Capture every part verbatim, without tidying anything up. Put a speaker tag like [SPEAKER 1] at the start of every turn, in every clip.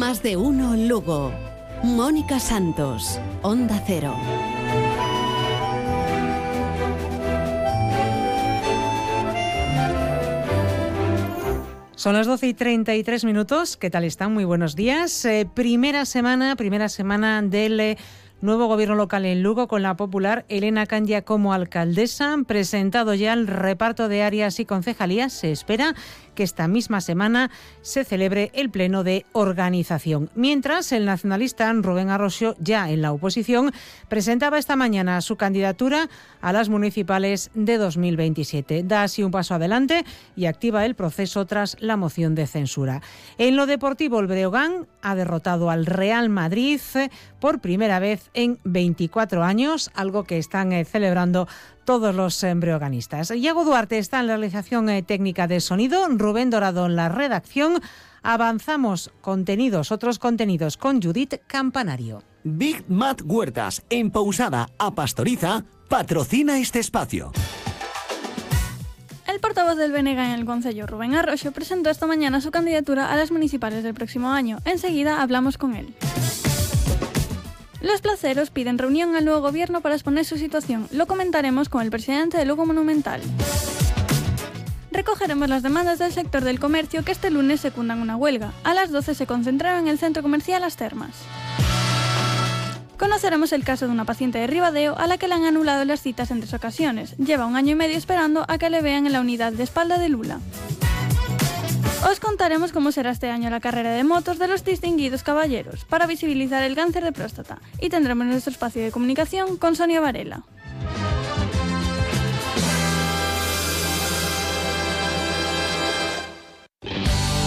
[SPEAKER 1] Más de uno Lugo. Mónica Santos, Onda Cero.
[SPEAKER 2] Son las doce y treinta y tres minutos. ¿Qué tal están? Muy buenos días. Eh, primera semana, primera semana del eh, nuevo gobierno local en Lugo, con la popular Elena Candia como alcaldesa. Han presentado ya el reparto de áreas y concejalías. Se espera que esta misma semana se celebre el pleno de organización. Mientras, el nacionalista Rubén Arroxo, ya en la oposición, presentaba esta mañana su candidatura a las municipales de dos mil veintisiete. Da así un paso adelante y activa el proceso tras la moción de censura. En lo deportivo, el Breogán ha derrotado al Real Madrid por primera vez en veinticuatro años, algo que están eh, celebrando todos los breoganistas. Iago Duarte está en la realización eh, técnica de sonido, Rubén Dorado en la redacción. Avanzamos contenidos, otros contenidos con Judith Campanario.
[SPEAKER 3] Big Mat Huertas, en Pousada a Pastoriza, patrocina este espacio.
[SPEAKER 4] El portavoz del B N G en el Concello, Rubén Arroxo, presentó esta mañana su candidatura a las municipales del próximo año. Enseguida hablamos con él. Los placeros piden reunión al nuevo gobierno para exponer su situación. Lo comentaremos con el presidente de Lugo Monumental. Recogeremos las demandas del sector del comercio que este lunes secundan una huelga. A las doce se concentraron en el centro comercial Las Termas. Conoceremos el caso de una paciente de Ribadeo a la que le han anulado las citas en tres ocasiones. Lleva un año y medio esperando a que le vean en la unidad de espalda de Lula. Os contaremos cómo será este año la carrera de motos de los distinguidos caballeros para visibilizar el cáncer de próstata, y tendremos nuestro espacio de comunicación con Sonia Varela.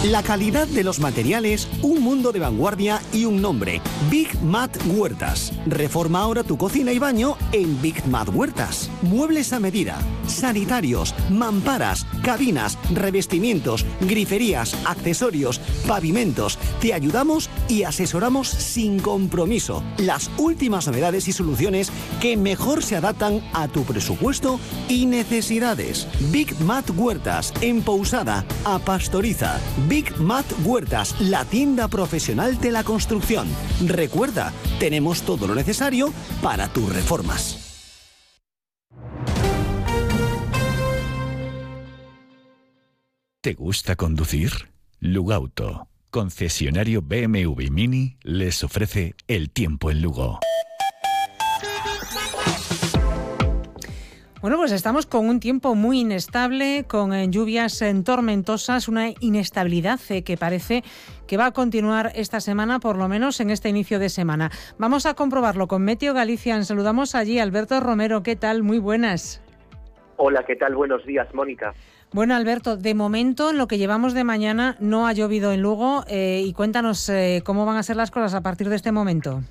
[SPEAKER 3] La calidad de los materiales, un mundo de vanguardia y un nombre. Big Mat Huertas. Reforma ahora tu cocina y baño en Big Mat Huertas. Muebles a medida, sanitarios, mamparas, cabinas, revestimientos, griferías, accesorios, pavimentos. Te ayudamos y asesoramos sin compromiso. Las últimas novedades y soluciones que mejor se adaptan a tu presupuesto y necesidades. Big Mat Huertas, en Pousada a Pastoriza. Big Mat Huertas, la tienda profesional de la construcción. Recuerda, tenemos todo lo necesario para tus reformas.
[SPEAKER 5] ¿Te gusta conducir? Lugauto, concesionario B M W Mini, les ofrece el tiempo en Lugo.
[SPEAKER 2] Bueno, pues estamos con un tiempo muy inestable, con eh, lluvias eh, tormentosas, una inestabilidad eh, que parece que va a continuar esta semana, por lo menos en este inicio de semana. Vamos a comprobarlo con Meteo Galicia. Saludamos allí a Alberto Romero. ¿Qué tal? Muy buenas.
[SPEAKER 6] Hola, ¿qué tal? Buenos días, Mónica.
[SPEAKER 2] Bueno, Alberto, de momento, en lo que llevamos de mañana, no ha llovido en Lugo. Eh, y cuéntanos eh, cómo van a ser las cosas a partir de este momento.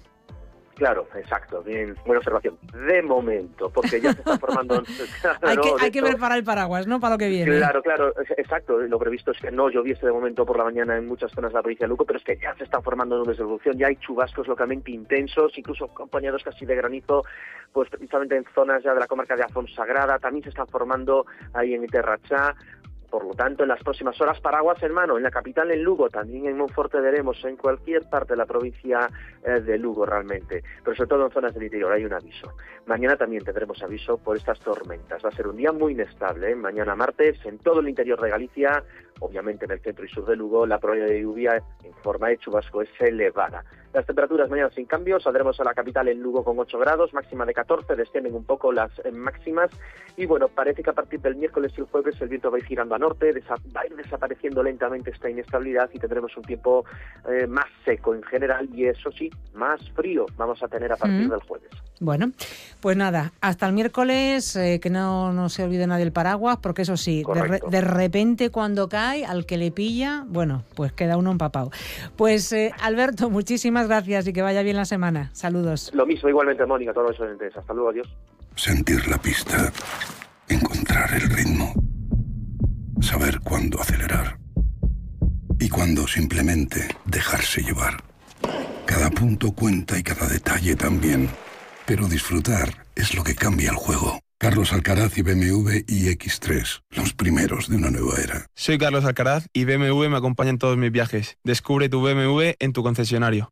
[SPEAKER 6] Claro, exacto, bien, buena observación. De momento, porque ya se está formando... Claro,
[SPEAKER 2] hay que,
[SPEAKER 6] ¿no?
[SPEAKER 2] hay que preparar el paraguas, ¿no?, para lo que viene.
[SPEAKER 6] Claro, claro, exacto. Lo previsto es que no lloviese de momento por la mañana en muchas zonas de la provincia de Lugo, pero es que ya se están formando nubes de evolución, ya hay chubascos localmente intensos, incluso acompañados casi de granizo, pues precisamente en zonas ya de la comarca de Afonsagrada, también se están formando ahí en Terrachá. Por lo tanto, en las próximas horas, paraguas en mano, en la capital, en Lugo, también en Monforte veremos, en cualquier parte de la provincia eh, de Lugo realmente, pero sobre todo en zonas del interior hay un aviso. Mañana también tendremos aviso por estas tormentas. Va a ser un día muy inestable, ¿eh? Mañana martes, en todo el interior de Galicia, obviamente en el centro y sur de Lugo, la probabilidad de lluvia en forma de chubasco es elevada. Las temperaturas mañana sin cambio, saldremos a la capital en Lugo con ocho grados, máxima de catorce, descienden un poco las eh, máximas, y bueno, parece que a partir del miércoles y el jueves el viento va a ir girando a norte, desa- va a ir desapareciendo lentamente esta inestabilidad y tendremos un tiempo eh, más seco en general, y eso sí, más frío vamos a tener a partir mm. del jueves.
[SPEAKER 2] Bueno, pues nada, hasta el miércoles, eh, que no, no se olvide nadie el paraguas, porque eso sí, de, re, de repente cuando cae, al que le pilla, bueno, pues queda uno empapado. Pues eh, Alberto, muchísimas gracias y que vaya bien la semana. Saludos.
[SPEAKER 6] Lo mismo, igualmente, Mónica, todos los oyentes. Hasta luego, adiós.
[SPEAKER 7] Sentir la pista, encontrar el ritmo, saber cuándo acelerar y cuándo simplemente dejarse llevar. Cada punto cuenta y cada detalle también. Pero disfrutar es lo que cambia el juego. Carlos Alcaraz y B M W i X tres, los primeros de una nueva era.
[SPEAKER 8] Soy Carlos Alcaraz y B M W me acompaña en todos mis viajes. Descubre tu B M W en tu concesionario.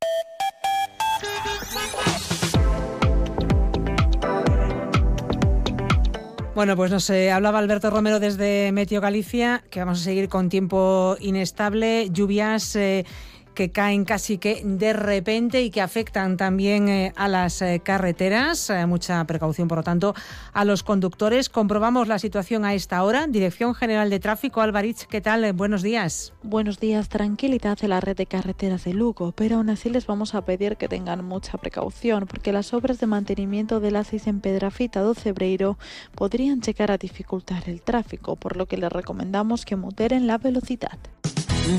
[SPEAKER 2] Bueno, pues nos eh, hablaba Alberto Romero desde Meteo Galicia, que vamos a seguir con tiempo inestable, lluvias eh, que caen casi que de repente y que afectan también eh, a las eh, carreteras. Eh, mucha precaución, por lo tanto, a los conductores. Comprobamos la situación a esta hora. Dirección General de Tráfico, Alvarich, ¿qué tal? Eh, buenos días.
[SPEAKER 9] Buenos días. Tranquilidad en la red de carreteras de Lugo, pero aún así les vamos a pedir que tengan mucha precaución, porque las obras de mantenimiento del A seis en Pedrafita do Cebreiro podrían llegar a dificultar el tráfico, por lo que les recomendamos que moderen la velocidad.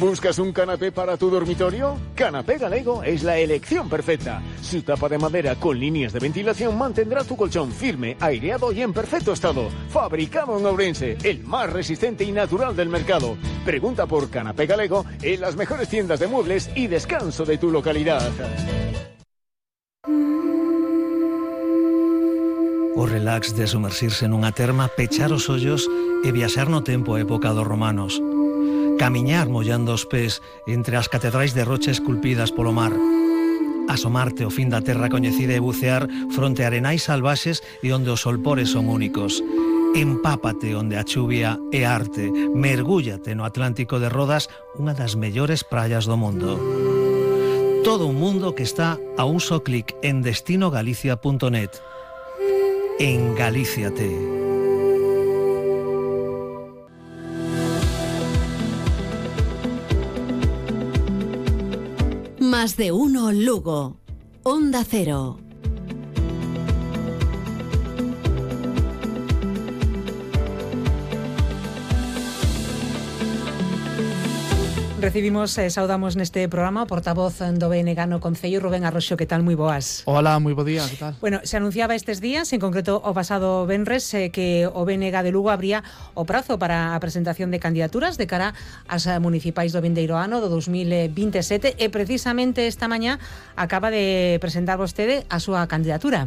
[SPEAKER 10] ¿Buscas un canapé para tu dormitorio? Canapé Galego es la elección perfecta. Su tapa de madera con líneas de ventilación mantendrá tu colchón firme, aireado y en perfecto estado. Fabricado en Ourense, el más resistente y natural del mercado. Pregunta por Canapé Galego en las mejores tiendas de muebles y descanso de tu localidad.
[SPEAKER 11] O relax de sumersirse nunha terma, pechar os ollos e viaxar no tempo a época dos romanos. Camiñar mollando os pés entre as catedrais de rocha esculpidas polo mar. Asomarte ao fin da terra coñecida e bucear fronte a arenais salvaxes e onde os solpores son únicos. Empápate onde a chuvia é arte. Mergúllate no Atlántico de Rodas, unha das mellores praias do mundo. Todo un mundo que está a un só clic en destino galicia punto net. En Galíciate.
[SPEAKER 1] Más de uno Lugo. Onda Cero.
[SPEAKER 2] Recibimos, eh, saudamos neste programa o portavoz do B N G no Concello, Rubén Arroxo, que tal? Moi boas.
[SPEAKER 12] Hola, moi bo día, que tal?
[SPEAKER 2] Bueno, se anunciaba estes días, en concreto o pasado venres, eh, que o B N G de Lugo abría o prazo para a presentación de candidaturas de cara ás municipais do vindeiro ano, do dos mil vinte e sete, e precisamente esta mañá acaba de presentar vostede a súa candidatura.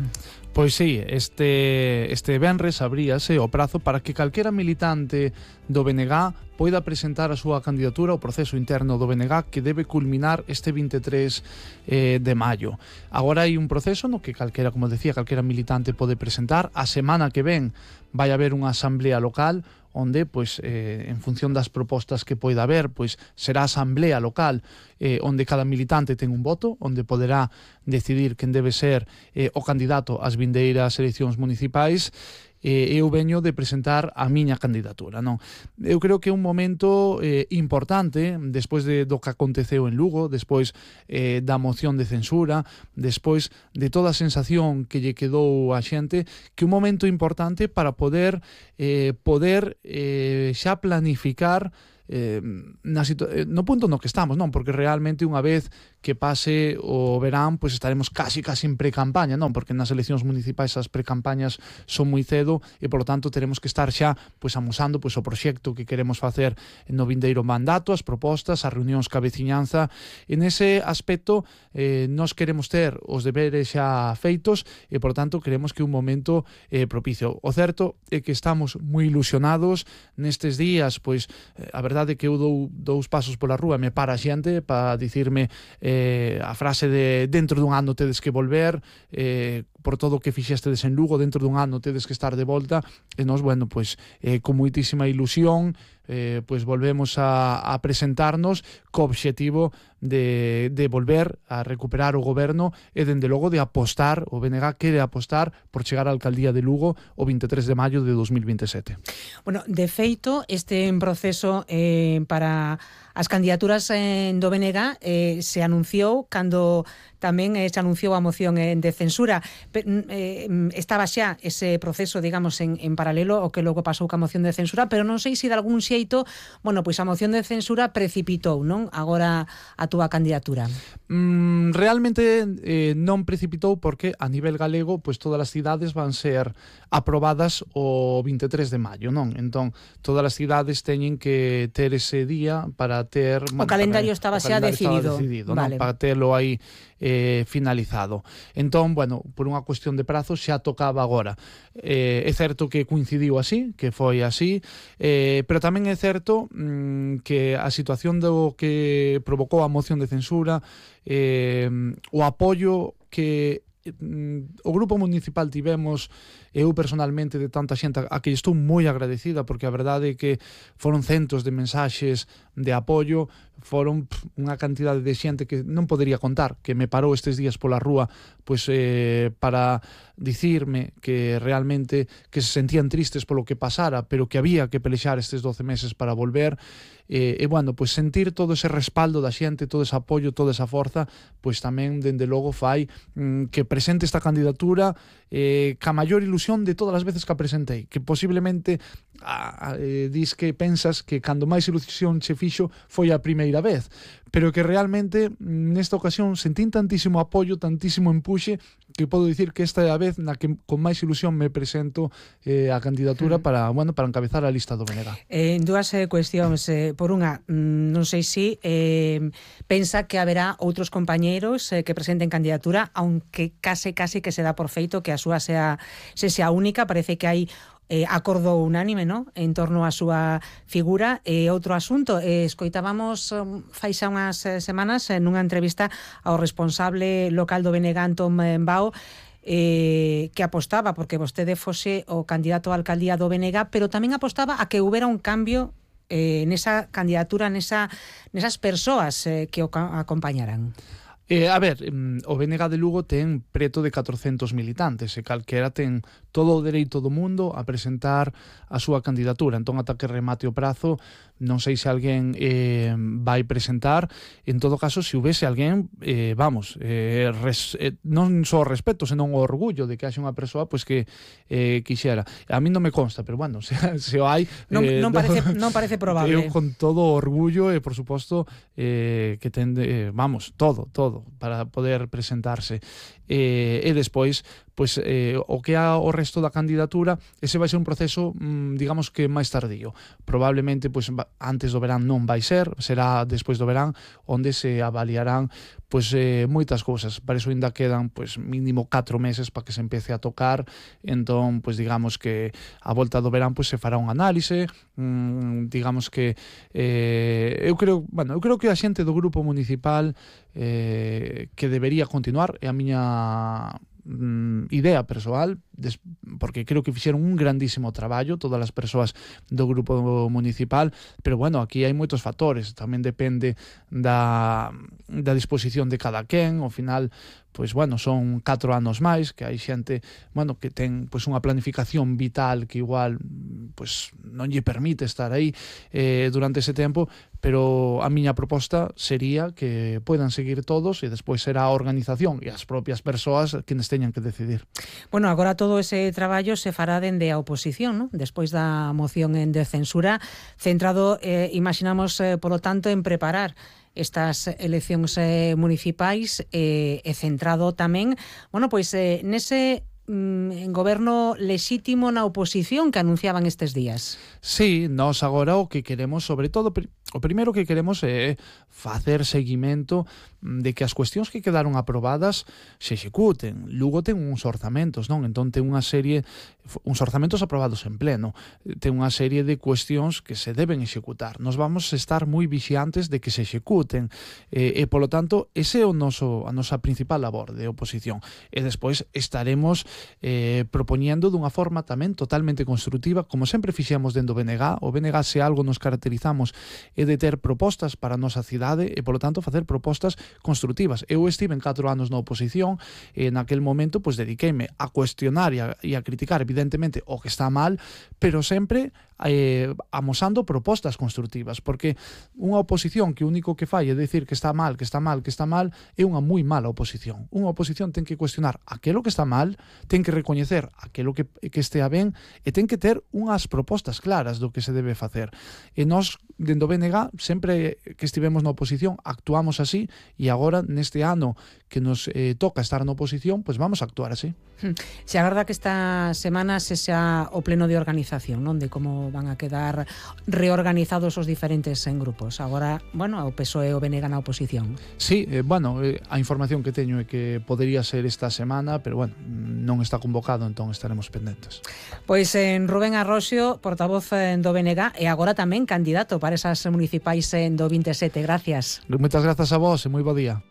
[SPEAKER 12] Pois sí, este, este venres abríase o prazo para que calquera militante do B N G poida presentar a súa candidatura ao proceso interno do B N G que debe culminar este vinte e tres eh, de maio. Agora hai un proceso no que calquera, como decía, calquera militante pode presentar. A semana que ven vai haber unha asamblea local onde, pois, eh, en función das propostas que poida haber, pois será a asamblea local eh, onde cada militante ten un voto, onde poderá decidir quen debe ser eh, o candidato ás vindeiras eleccións municipais. E eu veño de presentar a miña candidatura, non? Eu creo que é un momento eh, importante despois de, do que aconteceu en Lugo, despois eh, da moción de censura, despois de toda a sensación que lle quedou a xente, que un momento importante para poder eh, poder eh, xa planificar eh, na situ- no punto no que estamos, non? Porque realmente unha vez que pase o verán, pois estaremos casi casi en pre-campaña, non? Porque nas eleccións municipais as pre-campañas son moi cedo e, polo tanto, teremos que estar xa pois amosando pois o proxecto que queremos facer no vindeiro mandato, as propostas, as reunións ca veciñanza. En ese aspecto, eh, nós queremos ter os deberes xa feitos e, por tanto, queremos que un momento eh, propicio. O certo é que estamos moi ilusionados nestes días, pois eh, a verdade é que eu dou dous pasos pola rúa e me para a xente para dicirme eh, a frase de dentro dun ano tedes que volver, eh, por todo o que fixestedes en Lugo, dentro dun ano tedes que estar de volta, e nós, bueno, pois eh, con moitísima ilusión eh, pois volvemos a, a presentarnos co obxectivo de, de volver a recuperar o goberno e, dende logo, de apostar, o B N G quere apostar por chegar á alcaldía de Lugo o vinte e tres de maio de dos mil vinte e sete.
[SPEAKER 2] Bueno, de feito, este proceso eh, para as candidaturas en do B N G eh, se anunciou cando tamén eh, se anunciou a moción eh, de censura. Pe, eh, estaba xa ese proceso, digamos, en, en paralelo o que logo pasou ca moción de censura, pero non sei se de algún xeito, bueno, pois a moción de censura precipitou, non? Agora a túa candidatura.
[SPEAKER 12] Mm, realmente eh, non precipitou porque a nivel galego pois todas as cidades van ser aprobadas o vinte e tres de maio, non? Entón, todas as cidades teñen que ter ese día para ter...
[SPEAKER 2] O bueno, calendario para, estaba o xa decidido,
[SPEAKER 12] decidido
[SPEAKER 2] vale.
[SPEAKER 12] non? Para terlo aí eh, finalizado. Entón, bueno, por unha cuestión de prazo xa tocaba agora. Eh, é certo que coincidiu así, que foi así, eh, pero tamén é certo mm, que a situación do que provocou a moción de censura, eh, o apoio que mm, o grupo municipal tivemos, eu personalmente, de tanta xente a que estou moi agradecida, porque a verdade é que foron centos de mensaxes de apoio, foron pff, unha cantidade de xente que non podería contar, que me parou estes días pola rúa pois, eh, para dicirme que realmente que se sentían tristes polo que pasara, pero que había que pelexar estes doce meses para volver. E, e bueno, pois sentir todo ese respaldo da xente, todo ese apoio, toda esa forza, pois tamén, dende logo, fai mm, que presente esta candidatura eh, ca maior ilusión de todas as veces que a presentei, que posiblemente a, a, eh, dis que pensas que cando máis ilusión che fixo foi a primeira vez, pero que realmente nesta ocasión sentín tantísimo apoio, tantísimo empuxe, que podo dicir que esta é a vez na que con máis ilusión me presento eh, a candidatura mm. para, bueno, para encabezar a lista do B N G.
[SPEAKER 2] Eh, dúas eh, cuestións. Eh, por unha, mm, non sei se si, eh, pensa que haberá outros compañeiros eh, que presenten candidatura, aunque case case que se dá por feito que a súa sea, se sea única. Parece que hai eh, acordo unánime, ¿no?, en torno á súa figura. E eh, outro asunto, eh, escoitábamos um, fai xa unhas eh, semanas en unha entrevista ao responsable local do B N G, Antón Bao, eh, que apostaba porque vostede fose o candidato á alcaldía do B N G, pero tamén apostaba a que houbera un cambio eh, nesa candidatura, nesa, nesas persoas eh, que o acompañaran.
[SPEAKER 12] Eh, a ver, o B N G de Lugo ten preto de catrocentos militantes e calquera ten todo o dereito do mundo a presentar a súa candidatura. Entón, ata que remate o prazo, non sei se alguén eh, vai presentar. En todo caso, se houvese alguén, eh, vamos, eh, res, eh, non só o respeto, senón o orgullo de que haxe unha persoa pois que eh, quixera. A mí non me consta, pero bueno, se, se o hai...
[SPEAKER 2] Non,
[SPEAKER 12] eh,
[SPEAKER 2] non, parece, non parece probable.
[SPEAKER 12] Eu con todo o orgullo e, por suposto, eh, que ten, eh, vamos, todo, todo, para poder presentarse. Eh, e despois, pois, eh, o que é o resto da candidatura, ese vai ser un proceso, mm, digamos que máis tardío. Probablemente, pois, antes do verán non vai ser, será despois do verán, onde se avaliarán pois, eh, moitas cousas. Para iso ainda quedan, pois, mínimo catro meses para que se empece a tocar. Entón, pois, digamos que a volta do verán, pois, se fará un análise, mm, digamos que eh, eu creo, bueno, eu creo que a xente do grupo municipal eh, que debería continuar, é a miña mm, idea persoal, des, porque creo que fixeron un grandísimo traballo todas as persoas do grupo municipal, pero bueno, aquí hai moitos factores, tamén depende da, da disposición de cada quen. Ao final, pois bueno, son catro anos máis, que hai xente, bueno, que ten pois unha planificación vital que igual pois non lle permite estar aí eh, durante ese tempo, pero a miña proposta sería que poidan seguir todos e despois será a organización e as propias persoas quenes teñan que decidir.
[SPEAKER 2] Bueno, agora todo ese traballo se fará dende a oposición, ¿no?, despois da moción de censura, centrado, eh, imaginamos, eh, polo tanto, en preparar estas eleccións eh, municipais eh, e centrado tamén, bueno, pois eh, nese mm, goberno lexítimo na oposición que anunciaban estes días.
[SPEAKER 12] Sí, nós agora o que queremos, sobre todo, o primeiro que queremos é facer seguimento de que as cuestións que quedaron aprobadas se executen. Lugo ten uns orzamentos, non? Entón ten unha serie, uns orzamentos aprobados en pleno, ten unha serie de cuestións que se deben executar. Nos vamos a estar moi vixiantes de que se executen e, e polo tanto, ese é o noso, a nosa principal labor de oposición. E despois estaremos eh, propoñendo dunha forma tamén totalmente constructiva, como sempre fixemos dentro do B N G. O B N G, se algo nos caracterizamos, é de ter propostas para a nosa cidade e, polo tanto, facer propostas constructivas. Eu estive en catro anos na oposición e naquel momento pois dediqueime a cuestionar e a, e a criticar evidentemente o que está mal, pero sempre eh, amosando propostas constructivas, porque unha oposición que o único que fai é decir que está mal, que está mal, que está mal, é unha moi mala oposición. Unha oposición ten que cuestionar aquilo que está mal, ten que recoñecer aquilo que, que estea ben e ten que ter unhas propostas claras do que se debe facer. E nós, dentro do B N G, sempre que estivemos na oposición, actuamos así, e agora, neste ano que nos eh, toca estar na oposición, pois vamos a actuar así.
[SPEAKER 2] Se agarda que esta semana se xa o pleno de organización, non? De como van a quedar reorganizados os diferentes en grupos. Agora, bueno, o P S O E e o B N G na oposición.
[SPEAKER 12] Sí, eh, bueno, eh, a información que teño é que podería ser esta semana, pero bueno, non está convocado, entón estaremos pendentes.
[SPEAKER 2] Pois en Rubén Arroxio, portavoz do B N G, e agora tamén candidato para esas municipais en do vinte e sete. Gracias.
[SPEAKER 12] Moitas grazas a vos e moi bo día.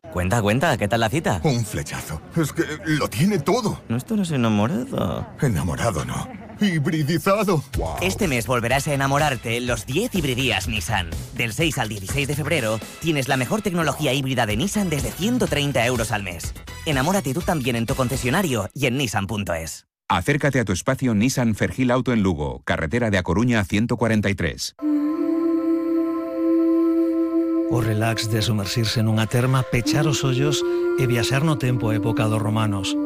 [SPEAKER 13] Cuenta, cuenta, ¿qué tal la cita?
[SPEAKER 14] Un flechazo. Es que lo tiene todo.
[SPEAKER 13] No estarás enamorado.
[SPEAKER 14] Enamorado no. Hibridizado.
[SPEAKER 13] Este mes volverás a enamorarte los diez hibridías Nissan. Del seis al dieciséis de febrero tienes la mejor tecnología híbrida de Nissan desde ciento treinta euros al mes. Enamórate tú también en tu concesionario y en nissan punto es.
[SPEAKER 15] Acércate a tu espacio Nissan Fergil Auto en Lugo, carretera de A Coruña ciento cuarenta y tres.
[SPEAKER 11] O relax de sumersirse nunha terma, pechar os ollos e viaxar no tempo a época dos romanos.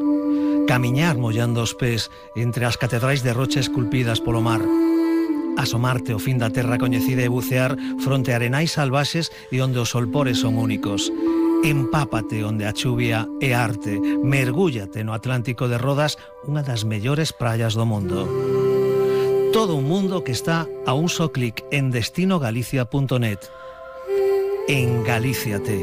[SPEAKER 11] Camiñar mollando os pés entre as catedrais de rocha esculpidas polo mar. Asomarte ao fin da terra coñecida e bucear fronte a arenais salvaxes e onde os solpores son únicos. Empápate onde a chuvia é arte. Mergúllate no Atlántico de Rodas, unha das mellores praias do mundo. Todo un mundo que está a un só clic en destino galicia punto net. En Galíciate.